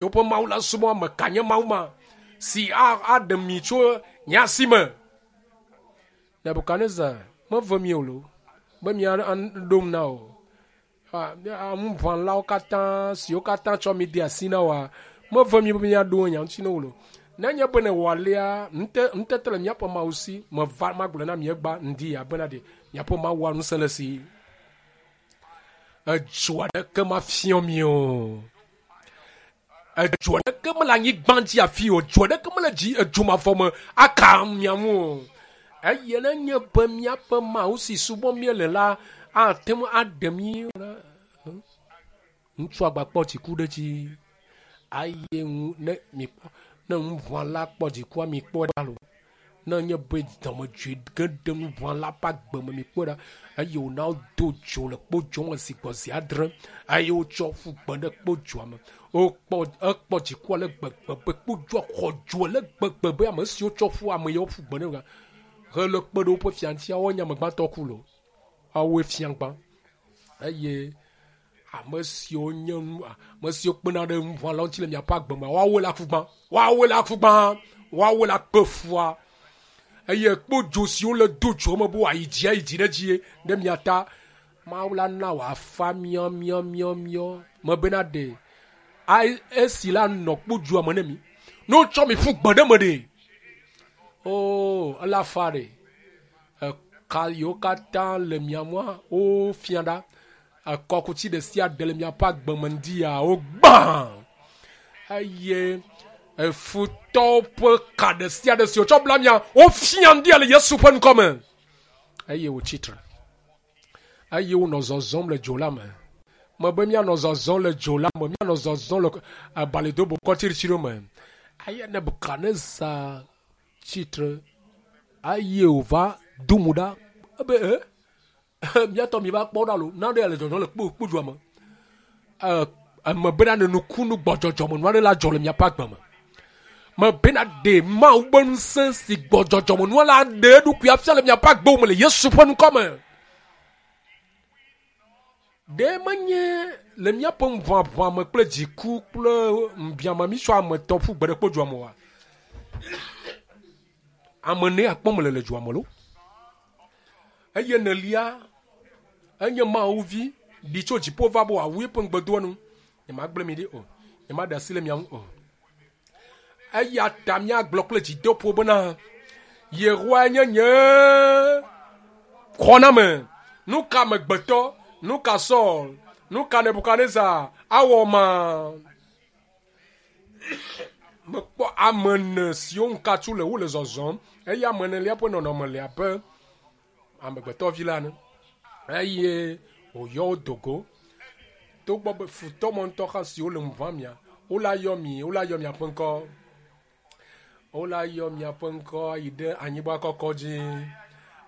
Yewoƒe Mawu la subɔ ame ka nye Mawu ma si aɖe mi tso nye asi me? Nebukadnezar meve mi o lo be miaɖom na o. Ŋuʋãlawo katã siwo katã tsɔ mi de asi na woa, meve mi be miaɖo nya ŋuti na wo lo. Nenye be nèwɔ alea, ŋutete le míaƒe Mawu si. Meva magblɔe na mi egba ŋdi ya bena ɖe miaƒe Mawua ŋusẽ le si. Edzo aɖeke mafiɔ mi o. Edzo aɖeke mele anyigba dzi afi o. Edzo aɖeke mele dzi edzo mavɔ me aka mia ŋu o. Eye nenye be míaƒe Mawu si subɔm míele la ate ŋu aɖe mí la, ŋutsua gbakpɔ dziku ɖe edzi. Eye ŋu ne mikpɔ ne ŋuʋãla kpɔ dzikua mikpɔe ɖa lo. Ne nye be dɔmedzoe ge ɖe ŋuʋãla ƒe agbe me mikpɔe ɖa eye wòna wodo dzo le kpodzo me zi gbɔ zi adre eye wotsɔ ƒu gbe ɖe kpodzoa me. Wokpɔ ekpɔ dzikua le gbegbe be kpodzoa xɔ dzo le gbegbe be ame siwo tsɔ ƒu ame yawo ƒu gbe ɖe hele kpe ɖe woƒe fia ŋuti woanye ame gbãtɔ ku lo. Woawoe fia gbã eye ame siwo nye nu ame siwo kpena ɖe ŋuʋãlawo ŋuti le miaƒe agbe me woawoe le aku gbã woawoe le aku gbã woawoe le akpe fua eye kpodzo siwo le do dzo me be wòayi dzi ayi dzi ɖe dzi ɖe mia ta Mawu la na wòafa miɔmiɔmiɔmiɔ me bena ɖe esi la nɔ kpodzoa me ne mi ne wotsɔ mi ƒu gbe ɖe me ɖe oo ele afa ɖe eka yiwo katã le mia ŋua wofia ɖa Ekɔkuti ɖe sia ɖe le miaƒe agbe me ŋdi ya wogbã eye efutɔwo ƒe ka ɖe sia ɖe si wotsɔ bla mia wofia ŋdi le Yesu ƒe ŋkɔ me eye wotsi tre eye wonɔ zɔzɔm le dzo la me. Mebe míanɔ zɔzɔm le dzo la me, míanɔ zɔzɔm le abalidobokɔ tsiɖitsiɖiwo me. Eye Nebukadnezar tsi tre eye wòva do mo ɖa ebe e Míatɔ mi va kpɔ ɖa lo, nane le dzɔdzɔm le kpo kpodzoa me. Eme bena ne nukunu gbɔdzɔdzɔme nu aɖe la dzɔ le miaƒe agbe me. Me bena ɖe Mawu ƒe ŋusẽ si gbɔdzɔdzɔme nua la ɖe eɖokui afia le miaƒe agbewo me le Yesu ƒe ŋkɔ me. Ɖe menye le míaƒe ŋuʋaʋã me kple dziku kple ŋubiame mítsɔ ame etɔ̃ ƒu gbe ɖe kpodzoa me oa? Ame ene akpɔ mele le dzoa me lo. Eye enelia, enye Mawu vi ɖi tso dziƒo va be wòawu eƒe ŋugbedoa nu. Nyemagblẽ mi ɖi o, nyemaɖe asi le mia ŋu o. Eya ta míagblɔ kple dzideƒo bena, Yehowae nye nye xɔname. Nu ka amegbetɔ, nu ka Saul, nu ka Nebukadnezar awɔ ma? Mekpɔ ame ene siwo ŋu katsu le wole zɔzɔm eye ame enelia ƒe nɔnɔme le abe amegbetɔvi la ene eye wòyɔ wo do go. Togbɔ be futɔ mɔ ŋutɔ hã siwo le ŋu ʋãm mia, wola yɔ mi, wola yɔ miaƒe ŋkɔ. Wola yɔ miaƒe ŋkɔ yi ɖe anyigba kɔkɔ dzi.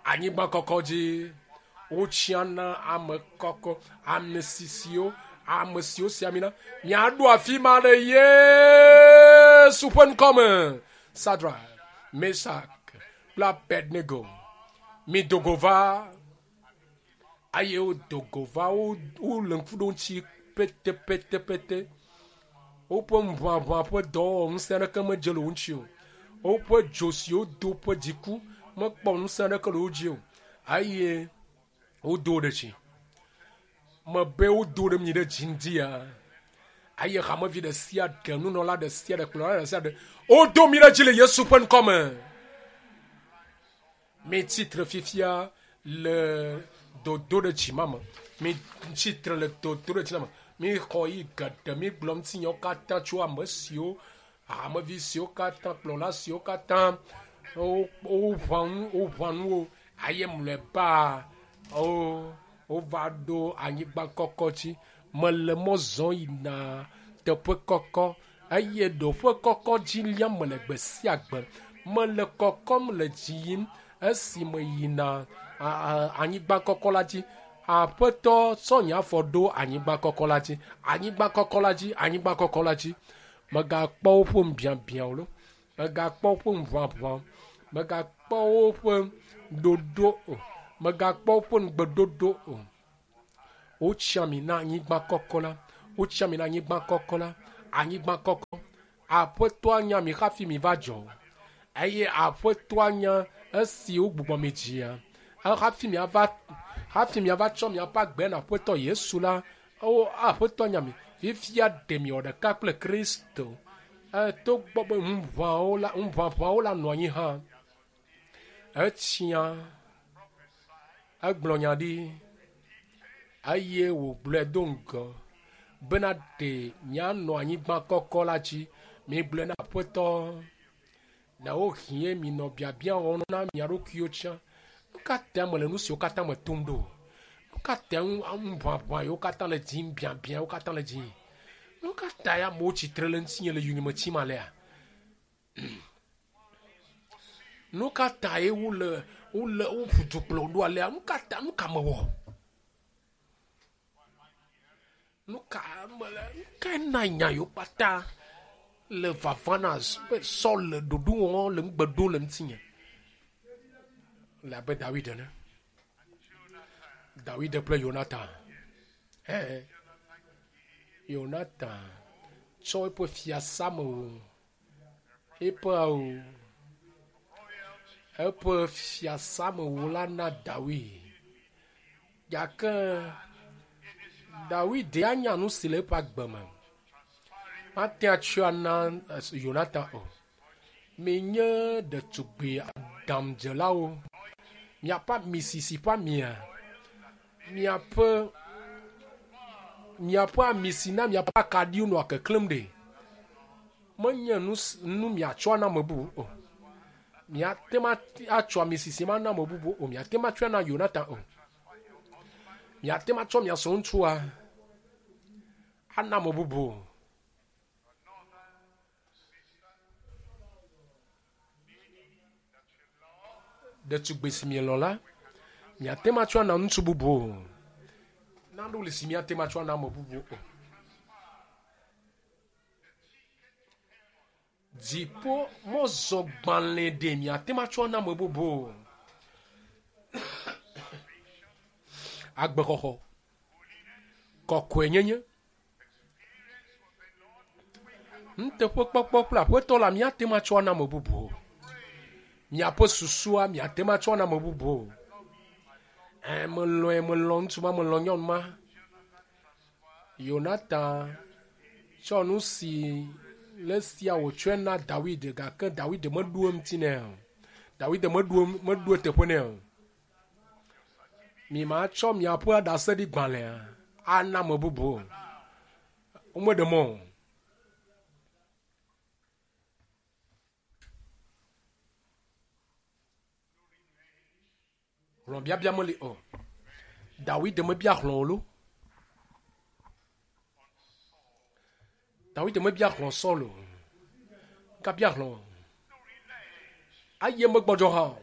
Anyigba kɔkɔ dzi. Wotsiana ame kɔkɔ, ame sisiwo, ame siwo si ami na. Miaɖo afi ma ɖe Yesu ƒe ŋkɔ me. Sadrak, Mesak kple Abednego, mido go va. Eye wodo go va wo wole ŋku ɖom ŋuti petepetepete. Woƒe ŋuʋaʋã ƒe dɔwɔwɔ ŋusẽ aɖeke medze le wo ŋuti o. Woƒe dzo si wodo ƒe dziku mekpɔ ŋusẽ aɖeke le wo dzi o. Eye wodo wo ɖe dzi. Mebe wodo ɖe mi ɖe dzi ŋdia. Eye hamevi ɖe sia ɖe, nunɔla ɖe sia ɖe, kplɔla ɖe sia ɖe, wodo mi ɖe dzi le Yesu ƒe ŋkɔ me. Mitsi tre fifia le dodo ɖe dzi ma me. Mitsi tre le dodo ɖe dzi ma me. Mixɔ yi geɖe, migblɔ ŋutinyawo katã tso ame siwo, hamevi siwo katã, kplɔla siwo katã woʋã nu, woʋã nu wo eye mlɔeba wo wova ɖo anyigba kɔkɔ dzi. Mele mɔ zɔm yina teƒe kɔkɔ eye ɖoƒe kɔkɔ dzi liam mele gbe sia gbe. Mele kɔkɔm le dzi yim esi meyina anyigba kɔkɔ la dzi. Aƒetɔ tsɔ nye afɔ ɖo anyigba kɔkɔ la dzi, anyigba kɔkɔ la dzi, anyigba kɔkɔ la dzi. Mègakpɔ woƒe ŋubiabiã o lo, mègakpɔ woƒe ŋuʋaʋã o, mègakpɔ woƒe ɖoɖo o, mègakpɔ woƒe nugbeɖoɖo o. Wotsi ami na anyigba kɔkɔ la. Wotsi ami na anyigba kɔkɔ la. Anyigba kɔkɔ. Aƒetɔa nya mi hafi mi va dzɔ. Eye aƒetɔa nya esi wogbugbɔ mi dzia. Hafi miava hafi miava tsɔ miaƒe agbe na aƒetɔ Yesu la, wo aƒetɔ nya mi. Fifia ɖe miwɔ ɖeka kple Kristo. Togbɔ be ŋuʋãwo la ŋuʋaʋãwo la nɔ anyi hã. Etsia egblɔ nya ɖi eye wògblɔe do ŋgɔ bena ɖe mianɔ anyigba kɔkɔ la dzi. Migblɔe na aƒetɔ ɖewohĩ minɔ biabia wɔm na mia ɖokuiwo tsã. Nu ka ta mele nu siwo katã me tom ɖo? Nu ka ta ŋuʋaʋã yiwo katã le dzim, biabia yiwo katã le dzim? Nu ka ta amewo tsitre le ŋutinye le yonyeme tsim alea? Nu ka tae wole wole woƒu du kplɔ ɖo alea? Nu ka ta nu ka mewɔ? Nu ka mele nu kae na nya yiwo kpata le vava na be Saul le ɖoɖo wɔm le nugbe ɖom le ŋutinye? Le abe Dawid ene. Dawid kple Yonatan. Ɛɛ Yonatan tsɔ eƒe fiasamewu eƒe awu eƒe fiasamewu la na Dawid. Gake Dawid anya nu si le eƒe agbe me. Mate atsɔe ana Yonatan o. Menye ɖetugbi aɖaŋudzelawo. Miaƒe amisisi ƒe amia, miaƒe miaƒe ami si na miaƒe akaɖiwo nɔa keklẽm ɖe. Menye nu nu miatsɔ ana ame bubu o. Miate ŋu atsɔ amisisi ma na ame bubu o. Miate ŋu atsɔe na Yonatan o. Miate ŋu atsɔ mia srɔ̃ŋutsua ana ame bubu o. Ɖetugbi si mielɔ̃ la, miate ŋu atsɔ ana ŋutsu bubu o. Nanewo li si miate ŋu atsɔ ana ame bubu o. Dziƒo mɔzɔgbalẽ ɖe miate ŋu atsɔ ana ame bubu o. Agbexɔxɔ, kɔkɔenyenye, nuteƒekpɔkpɔ kple aƒetɔ la miate ŋu atsɔ ana ame bubu o. Miaƒe susua miate ŋu atsɔ ana ame bubu o. Ɛ melɔ̃e melɔ̃ ŋutsu ma melɔ̃ nyɔnu ma. Yonatan tsɔ nu si le sia wòtsɔe na Dawid gake Dawid meɖo eŋuti nɛ o. Dawid meɖo meɖo eteƒe nɛ o. Mimatsɔ miaƒe ɖaseɖigbalẽa ana ame bubu o. Womeɖe mɔ o. Hlɔ̃biabia meli o. Dawid mebia hlɔ̃ o lo. Dawid mebia hlɔ̃ Saul o. Gabia hlɔ̃ o. Eye megbɔdzɔ hã o.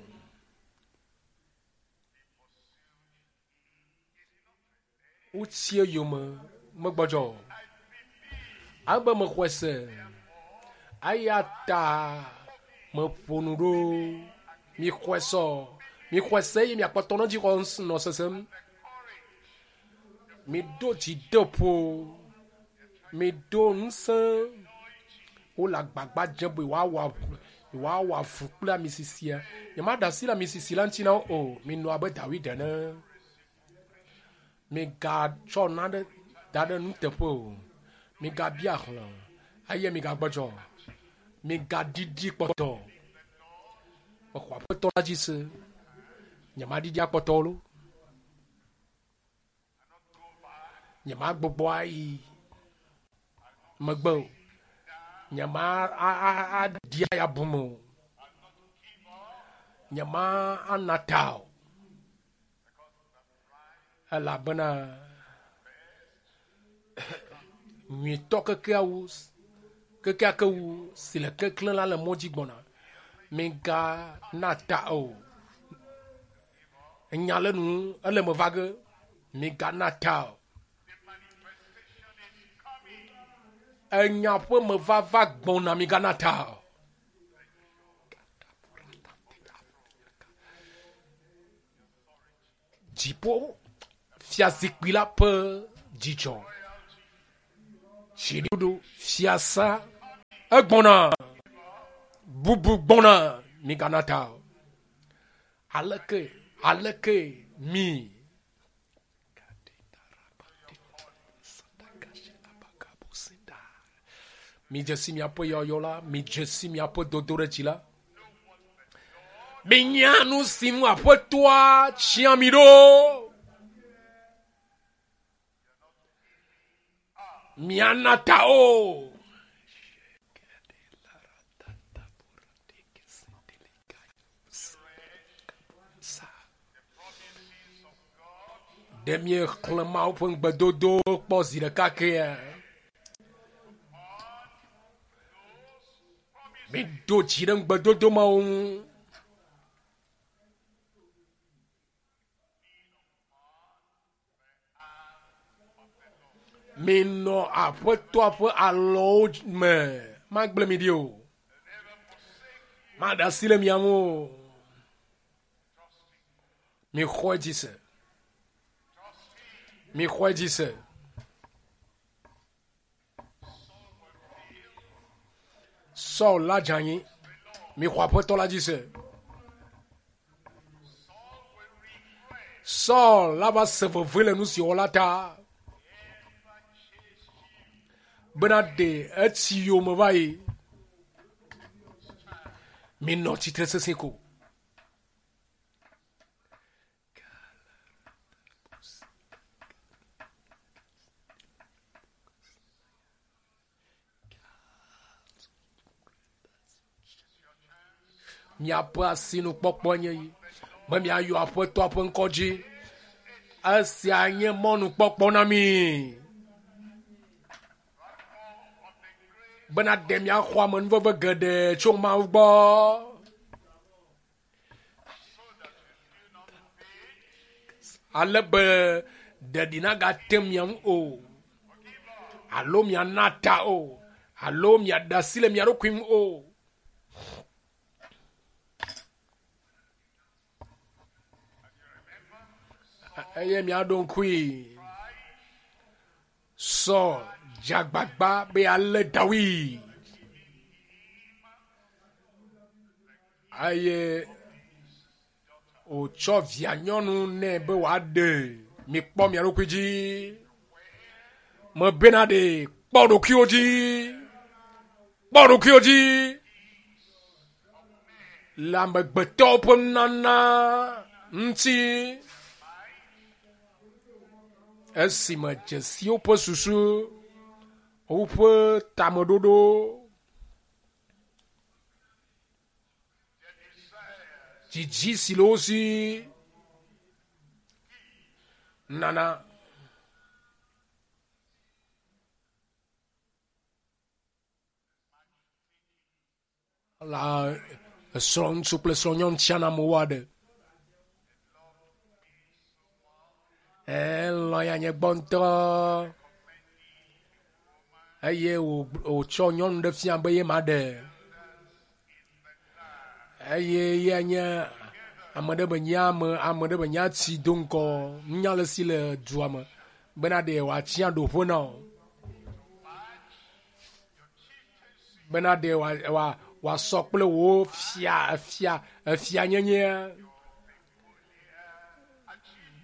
Wotsi eyome megbɔdzɔ o. Abe mexɔe se eya ta meƒo nu ɖo. Mixɔe se o. Mixɔe se eye miakpɔtɔ nɔ dzixɔ nɔ sesem. Miɖo dzideƒo. Miɖo ŋusẽ. Wole agbagba dzem be yewoawɔ yewoawɔ avu kple amisisia. Nyemaɖe asi le amisisi la ŋuti na wo o. Minɔ abe Dawid ene. Migatsɔ nane da ɖe nuteƒe o. Migabia hlɔ̃ o eye migagbɔdzɔ o. Migaɖiɖi kpɔtɔ o. Mexɔ aƒetɔ la dzi se. Nyemaɖiɖi akpɔtɔ o lo. Nyemagbugbɔ ayi megbe o. Nyema aɖi aya bume o. Nyema ana ta o. Elabena nyuitɔ kekeawo kekeake wu si le keklẽ la le mɔ dzi gbɔna. Migana ta o. Enya le nu ele me va ge. Migana ta o. Enya ƒe mevava gbɔna migana ta o. Dziƒo fiazikpui la ƒe dzidzɔ. Dziɖuɖu fiasa Egbɔna. Bubu gbɔna. Migana ta o. Aleke, aleke mi. Midze si miaƒe yɔyɔ la, midze si miaƒe dodoɖedzi la. Minya nu si ŋu aƒetɔa tsia mi ɖo. Miana ta o. Ɖe míexlẽ Mawu ƒe ŋugbedodo kpɔ zi ɖeka kea? Miɖo dzi ɖe ŋugbedodo mawo ŋu. Minɔ aƒetɔa ƒe alɔwo me. Magblẽ mi ɖi o. Maɖe asi le mia ŋu o. Mixɔe dzi se. Mixɔe dzi se. Saul la dze anyi. Mixɔ aƒetɔ la dzi se. Saul la va se veve le nu si wòwɔ la ta. Bena ɖe etsi yome va yi. Minɔ tsitre sesẽ ko. Miaƒe asinukpɔkpɔ nye yi be miayɔ Aƒetɔa ƒe ŋkɔ dzi. Esia nye mɔnukpɔkpɔ na mi bena ɖe miaxɔ amenuveve geɖe tso Mawu gbɔ. Ale be ɖeɖi nagate mia ŋu o, alo miana ta o, alo miaɖe asi le mia ɖokui ŋu o. Eye miaɖo ŋkui Saul dze agbagba be yealé Dawid. Eye wòtsɔ via nyɔnu nɛ be wòaɖe. Mikpɔ mia ɖokui dzi. Mebena ɖe kpɔ ɖokuiwò dzi. Kpɔ ɖokuiwò dzi. Le amegbetɔwo ƒe nunana ŋuti. Esime dzesi woƒe susu, woƒe tameɖoɖo. Dzidzi si le wo si nana. La esrɔ̃ŋutsu kple srɔ̃nyɔnu tsiana amewo aɖe. Elɔ̃ ya nye gbɔ ŋutɔ eye wòtsɔ nyɔnu ɖe fia be ye ma ɖe. Eye ye nye ame ɖe be nye ame, ame ɖe be nye atsi do ŋgɔ nunya le si le dua me bena ɖe wòatsia ɖoƒe na wò. Bena ɖe wòasɔ kple wò fia, fia, efianyenyea.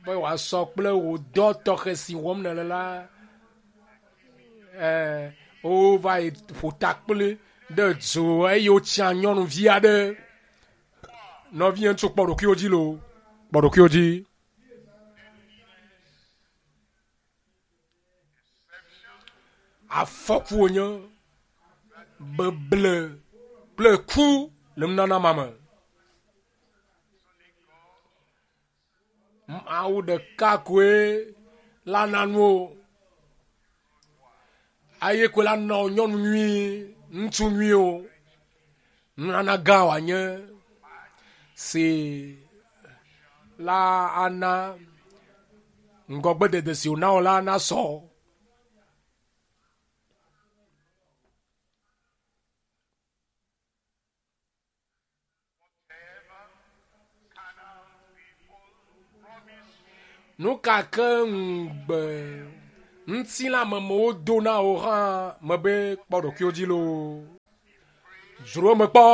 Be wòasɔ kple wò dɔ tɔxɛ si wɔm nèle la. Ɛɛ, wova yi ƒo ta kpli ɖe du eye wotsia nyɔnuvi aɖe. Nɔvinye ŋutsu kpɔ ɖokuiwò dzi loo, kpɔ ɖokuiwò dzi. Afɔku wònye beble kple ku le nunana ma me. Mawu ɖeka koe la na nuwo. Eye koe la na nyɔnu nyui, ŋutsu nyuiwo. Nunana gã wòanye si la ana ŋgɔgbedede si wòna wò la nasɔ. Nu ka ke ŋugbe ŋutilãmemewo do na wò hã mebe kpɔ ɖokuiwò dzi loo. Dzro eme kpɔ.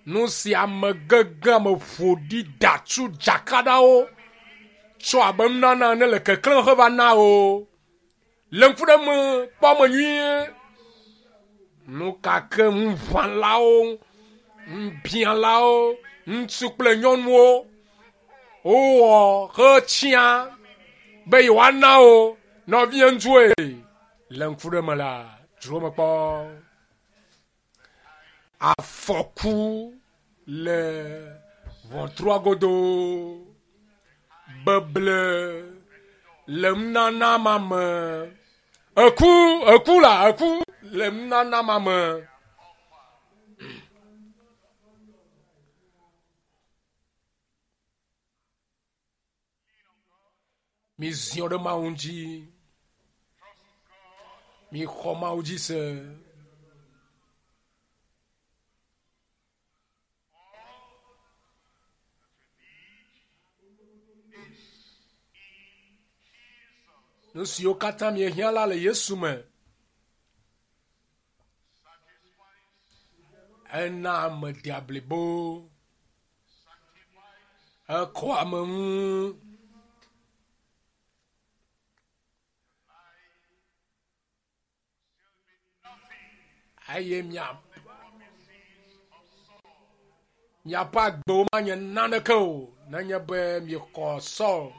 Nu si ame gege ame ƒo ɖi da tu dzakaɖawo tsɔ abe nunana ene le keklẽ heva na wo. Le ŋku ɖe me kpɔ me nyuie. Nu ka ke ŋuʋãlawo, ŋubiãlawo, ŋutsu kple nyɔnuwo wowɔ hetsia be yewoana wo nɔvie ŋutsuwoe. Le ŋku ɖe me la, dzro me kpɔ. Afɔku le ʋɔtrua godo. Beble le nunana ma me. Eku, eku la, eku le nunana ma me. Miziɔ ɖe Mawu dzi. Mixɔ Mawu dzi se. Nu siwo katã miehiã la le Yesu me. Ena ame dea blibo. Ekɔ ame ŋu. Eye mia miaƒe agbewo manye naneke o nenye be miexɔ Saul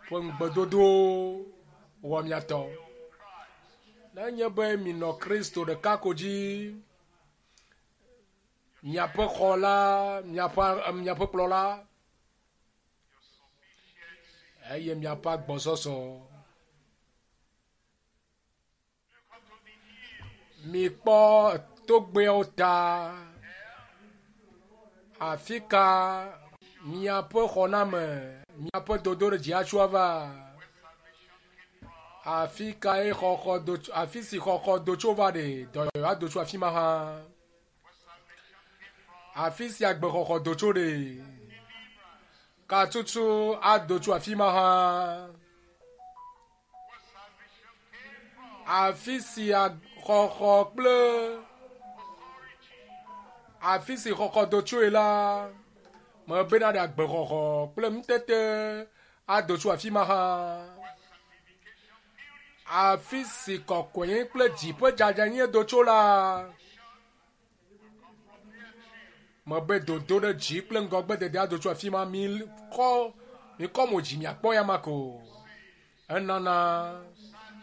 ƒe ŋugbedodowo wɔ mia tɔ. Nenye be minɔ Kristo ɖeka ko dzi, miaƒe xɔla, miaƒe miaƒe kplɔla eye miaƒe agbɔsɔsɔ. Mikpɔ togbɛawo ta. Afi ka miaƒe xɔname, miaƒe dodoɖedzi atso ava? Afi kae xɔxɔ do tso, afi si xɔxɔ do tso va ɖe, dɔyɔyɔ ado tso afi ma hã. Afi si agbexɔxɔ do tso ɖe, katutu ado tso afi ma hã. Afi si xɔxɔ kple afi si xɔxɔ do tsoe la, mebena ɖe agbexɔxɔ kple nutete ado tso afi ma hã. Afi si kɔkɔenye kple dzi ƒe dzadzanyenye do tso la, mebe dodo ɖe dzi kple ŋgɔgbedede ado tso afi ma. Mikɔ mikɔ mo dzi miakpɔ ya ma ko. Enana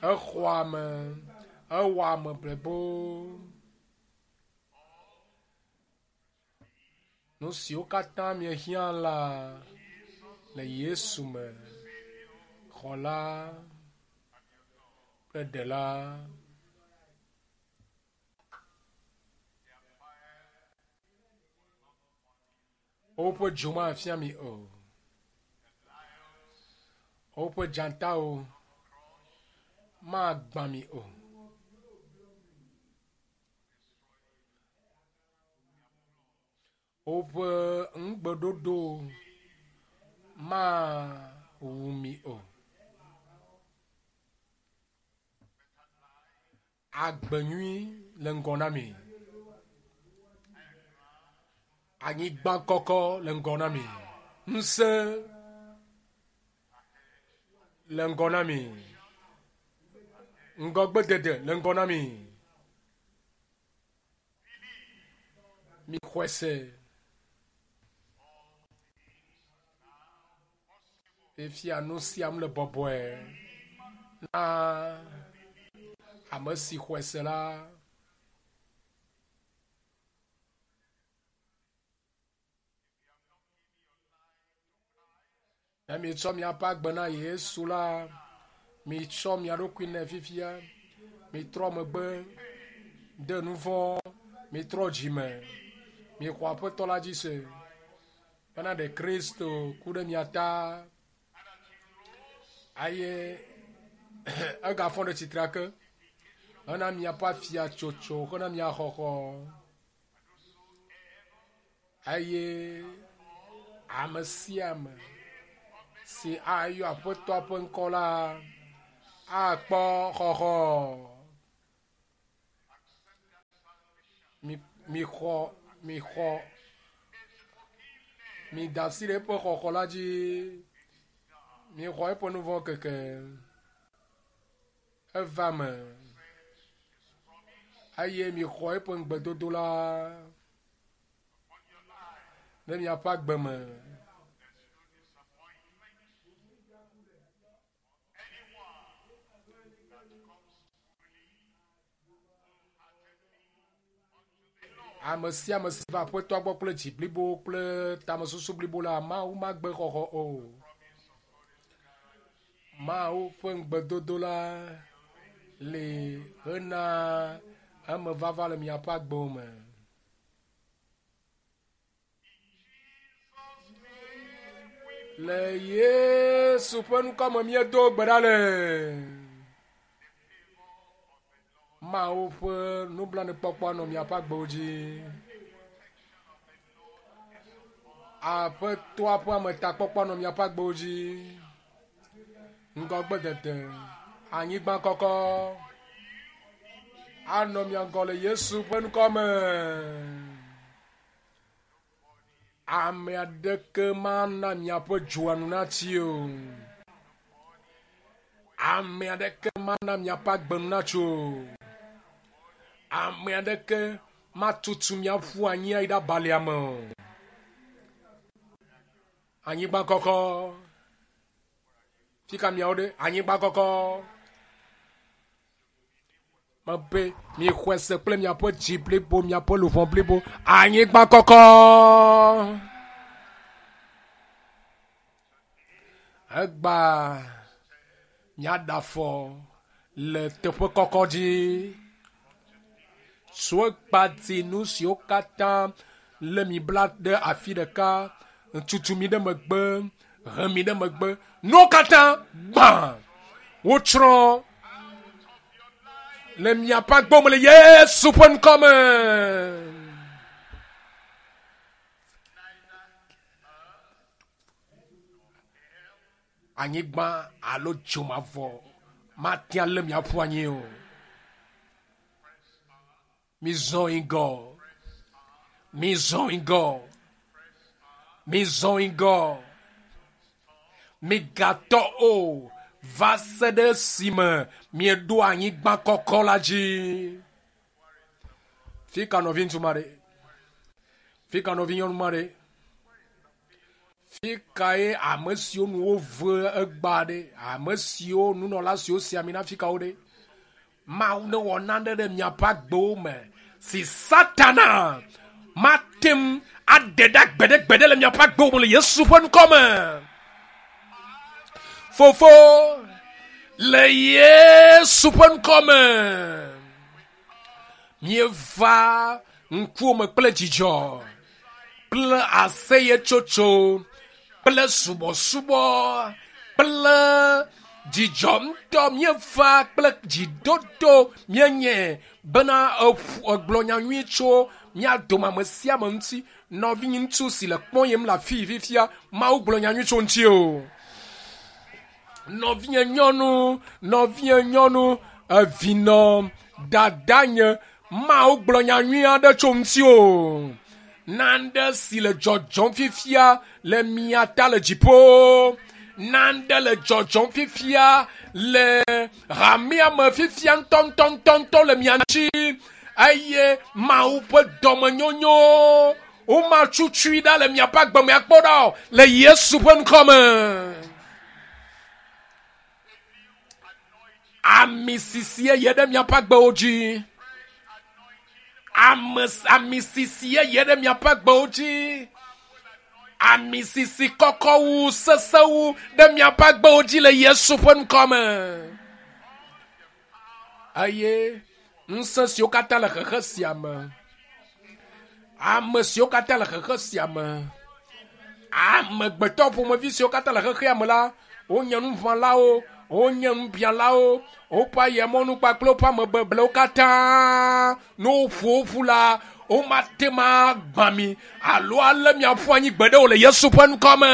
exɔa ame, ewɔa ame blibo. Nu siwo katã miehiã la le Yesu me, xɔla kple ɖela. Woƒe dzo mafia mi o. Woƒe dzatawo magbã mi o. Woƒe nugbeɖoɖo mawu mi o. Agbe nyui le ŋgɔ na mi. Anyigba kɔkɔ le ŋgɔ na mi. Ŋusẽ le ŋgɔ na mi. Ŋgɔgbedede le ŋgɔ na mi. Mixɔe se. Fifia nu sia nu le bɔbɔe na ame si xɔe se la. Ne mietsɔ miaƒe agbe na Yesu la, mitsɔ mia ɖokui nɛ fifia. Mitrɔ megbe de nu vɔ̃, mitrɔ dzime, mixɔ Aƒetɔ la dzi se bena ɖe Kristo ku ɖe mia ta eye egafɔ ɖe tsitre ake hena miaƒe afiatsotso, hena mia xɔxɔ. Eye ame sia ame si ayɔ Aƒetɔa ƒe ŋkɔ la akpɔ xɔxɔ. Mi mixɔ mixɔ mida asi ɖe eƒe xɔxɔ la dzi. Mixɔ eƒe nu vɔ̃ keke. Eva me eye mixɔ eƒe ŋugbedodo la ɖe miaƒe agbe me. Ame sia ame si va Aƒetɔa gbɔ kple dzi blibo kple tamesusu blibo la, Mawu magbe xɔxɔ o. Mawu ƒe ŋugbedodo la li hena emevava le miaƒe agbewo me. Le Yesu ƒe ŋkɔ me míedo gbe ɖa le. Mawu ƒe nublanuikpɔkpɔ anɔ miaƒe agbewo dzi. Aƒetɔa ƒe ametakpɔkpɔ anɔ miaƒe agbewo dzi. Ŋgɔgbedede, anyigba kɔkɔ anɔ mia ŋgɔ le Yesu ƒe ŋkɔ me. Ame aɖeke mana miaƒe dzoa nu natsi o. Ame aɖeke mana miaƒe agbe nu natso o. Ame aɖeke matutu miaƒu anyi ayi ɖe abalia me o. Anyigba kɔkɔ. Fika miawo ɖe? Anyigba kɔkɔ. Mebe mixɔe se kple miaƒe dzi blibo, miaƒe luʋɔ blibo. Anyigba kɔkɔ. Egba miaɖe afɔ le teƒe kɔkɔ dzi. Tso egba di nu siwo katã lé mi bla ɖe afi ɖeka, tutu mi ɖe megbe, he mi ɖe megbe. Nuwo katã gbã, wotsrɔ̃ le miaƒe agbewo me le Yesu ƒe ŋkɔ me. Anyigba alo dzomavɔ mate alé mi aƒu anyi o. Mizɔ yi ŋgɔ. Mizɔ yi ŋgɔ. Mizɔ yi ŋgɔ. Migatɔ o va se ɖe esime mieɖo anyigba kɔkɔ la dzi. Fika nɔviŋutsu ma ɖe? Fika nɔvinyɔnu ma ɖe? Fi kae ame siwo nu wove egbea ɖe? Ame siwo nunɔla siwo si ami na fi kawo ɖe? Mawu newɔ nane ɖe miaƒe agbewo me si Satana mate ŋu aɖe ɖa gbeɖegbeɖe le miaƒe agbewo me le Yesu ƒe ŋkɔ me. Fofo, le Yesu ƒe ŋkɔ me, míeva ŋkuwò me kple dzidzɔ kple aseyetsotso kple subɔsubɔ kple dzidzɔ ŋutɔ míeva kple dzidodo míenye bena egblɔ nya nyui tso mía dome ame sia ame ŋuti. Nɔviŋutsu si le kpɔyem le afii fifia, Mawu gblɔ nya nyui tso ŋuti o. Nɔvinye nyɔnu, nɔvinye nyɔnu, evinɔ, dadanye, Mawu gblɔ nya nyui aɖe tso ŋuti o. Nane si le dzɔdzɔm fifia le mia ta le dziƒo. Nane le dzɔdzɔm fifia le hamea me fifia ŋutɔŋutɔŋutɔŋutɔ le mia ŋuti. Eye Mawu ƒe dɔmenyonyo womatutui ɖa le miaƒe agbe me akpɔ ɖa o le Yesu ƒe ŋkɔ me. Ami sisi yeye ɖe miaƒe agbewo dzi. Ame ami sisi yeye ɖe miaƒe agbewo dzi. Ami sisi kɔkɔ wu sesẽ wu ɖe miaƒe agbewo dzi le Yesu ƒe ŋkɔ me. Eye ŋusẽ siwo katã le xexe sia me, ame siwo katã le xexe sia me, amegbetɔ ƒomevi siwo katã le xexea me la, wonye nuʋãlawo, wonye nubialawo, woƒe ayemɔnu kpakple woƒe amebeblewo katã, ne woƒo wo ƒu la, womate ŋu agbã mi alo alé mi aƒu anyi gbeɖe o le Yesu ƒe ŋkɔ me.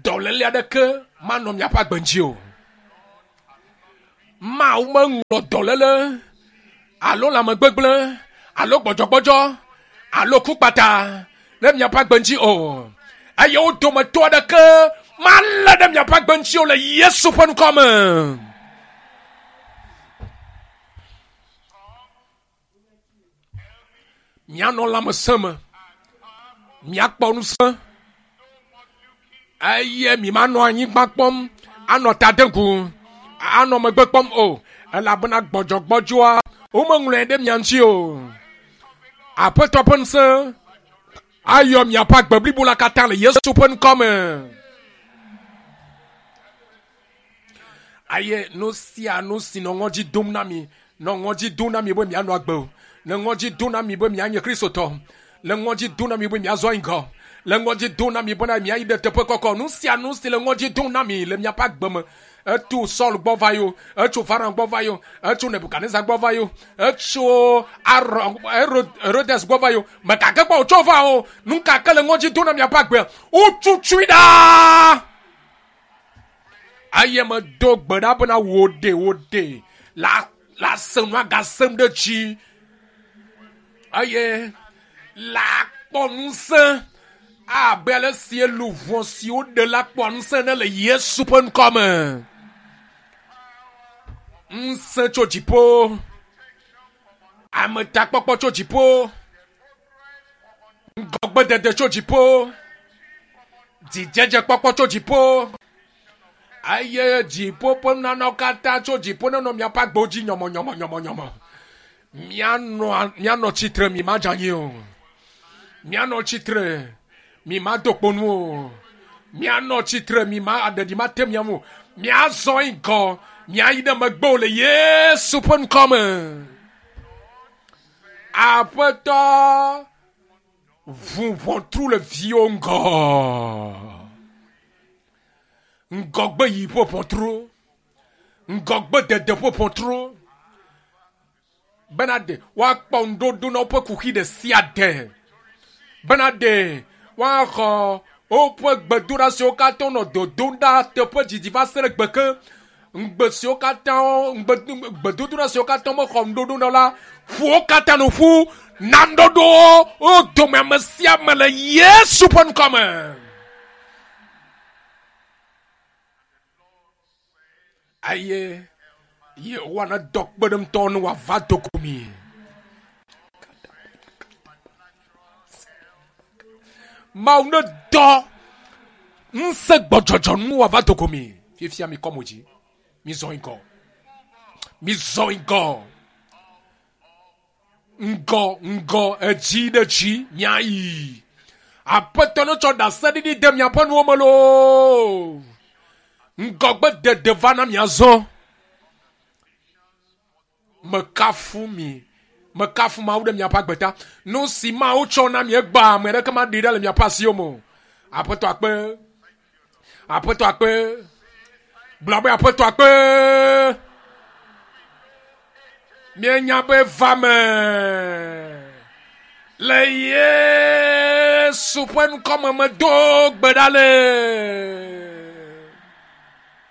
Dɔléle aɖeke manɔ miaƒe agbe ŋuti o. Mawu meŋlɔ dɔléle alo lãmegbegblẽ alo gbɔdzɔgbɔdzɔ alo ku kpata ɖe miaƒe agbe ŋuti o. Eye wo dometɔ aɖeke malé ɖe miaƒe agbe ŋuti o le Yesu ƒe ŋkɔ me. Mianɔ lãmesẽ me, miakpɔ ŋusẽ eye mi manɔ anyigba kpɔm anɔ ta dem gu anɔ megbe kpɔm o elabena gbɔdzɔgbɔdzɔa womeŋlɔe ɖe mia ŋuti o. Aƒetɔ ƒe ŋusẽ ayɔ miaƒe agbe blibo la katã le Yesu ƒe ŋkɔ me. Eye nu sia nu si nɔ ŋɔdzi dom na mi, nɔ ŋɔdzi dom na mi be mianɔ agbe o, le ŋɔdzi dom na mi be mianye Kristotɔ, le ŋɔdzi dom na mi be miazɔ ŋgɔ, le ŋɔdzi dom na mi bena miayi ɖe teƒe kɔkɔ. Nu sia nu si le ŋɔdzi dom na mi le miaƒe agbe me, etso Saul gbɔ va yo, etso Farao gbɔ va yo, etso Nebukadnezar gbɔ va yo, etso Aron, Herodes gbɔ va yo, mekake gbɔ wòtso va o. Nu ka ke le ŋɔdzi dom na miaƒe agbea, wotutui ɖa. Eye medo gbe ɖa bena wò ɖe wò ɖe la la se nu agasem ɖe dzi eye la kpɔ ŋusẽ abe ale si luʋɔ si woɖe la kpɔa ŋusẽ ne le Yesu ƒe ŋkɔ me. Ŋusẽ tso dziƒo, ametakpɔkpɔ tso dziƒo, ŋgɔgbedede tso dziƒo, dzidzedzekpɔkpɔ tso dziƒo, eye dziƒo ƒe nunanawo katã tso dziƒo nenɔ miaƒe agbewo dzi nyɔmɔnyɔmɔnyɔmɔnyɔmɔ. Mianɔ mianɔ tsitre mi madze anyi o. Mianɔ tsitre mi mado kpo nu o. Mianɔ tsitre mi ma aɖeɖi mate mia ŋu o. Miazɔ yi ŋgɔ, miayi ɖe megbe o le Yesu ƒe ŋkɔ me. Aƒetɔ ʋu ʋɔtru le viwo ŋgɔ. Ŋgɔgbe yi ƒe ʋɔtru. Ŋgɔgbe dede ƒe ʋɔtru. Bena ɖe woakpɔ ŋuɖoɖo na woƒe kuxi ɖe sia ɖe. Bena ɖe woaxɔ woƒe gbedoɖa siwo katã wonɔ dodom ɖa teƒe didi va se ɖe gbe ke. Ŋugbe siwo katã ŋugbe gbedodoɖa siwo katã mexɔ ŋuɖoɖo na la, ƒo wo katã nu ƒu na ŋuɖoɖowo wo dome ame sia ame le Yesu ƒe ŋkɔ me. Eye Yehowa nedɔ kpeɖeŋutɔwo ne wòava do go mi. Mawu nedɔ ŋusẽ gbɔdzɔdzɔ nu wòava do go mi. Fifia mikɔ mo dzi, mizɔ ŋgɔ, mizɔ ŋgɔ, ŋgɔ ŋgɔ edzi ɖe dzi miayi. Aƒetɔ netsɔ ɖaseɖiɖi de miaƒe nuwo me loo. Ŋgɔgbe dede va na miazɔ. Mekafu mi. Mekafu Mawu ɖe miaƒe agbe ta. Nu si Mawu tsɔ na mi egbea, ame aɖeke maɖi ɖa le miaƒe asiwo me o. Aƒetɔ akpe. Aƒetɔ akpe. Gblɔ be aƒetɔ akpe. Mienya be va me. Le Yesu ƒe ŋkɔ me medo gbe ɖa le.